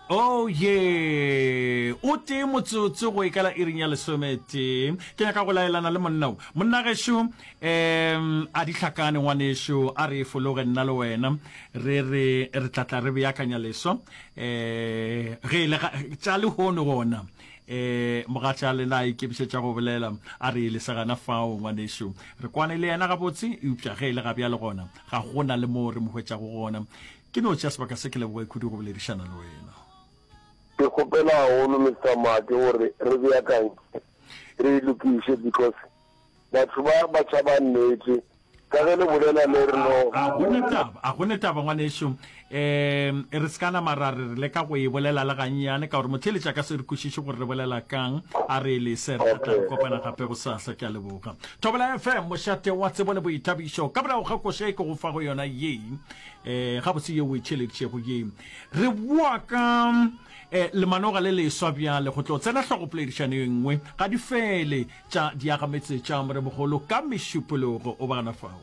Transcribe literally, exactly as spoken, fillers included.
Oh ye o tee motsotso go ikala iring ya lesometee. Ke nyaka go laelana le monna o. Monna gešo, um a di hlakane ngwanešo, a re e fologe nna le wena, re re re tla tla re beakanya leswa. Um ge e le ga tša lehono gona, um mogatša lena a ikemišetša go bolela, a re e lese gana fao ngwanešo. Re kwane le yena gabotse, eupša ge e le ga bjale gona ga gona le moo re mo hwetšago gona. Ke no tšea sebaka se ke leboge kudu go boledišana le wena. Ke kgopela haholo Mister Make gore re beakantše re e lokiše because batho ba ba tšhaba nnete ka ge le bolela le re no. A go ne taba, a go ne taba ngwanešu. Um re se ka nama ra re re leka go e bolela le gannyane ka gore motheeletši a ka se re kwešiše gore re bolela kang. A re e lese, re tla tla re kopana gape gosasa. Ke a leboga. Thobela F M, mošate wa tsebo le boithabišo. Ka morago ga koša e ke go fago yona ye, um gabotse ye o e theeleditšego ye, re boa ka um lemanoga le leswa bjale go tlo tsena hlogopoledišano ye nngwe ga di fele tša diagametse tša Moremogolo ka Mešupologo. O ba gana fao.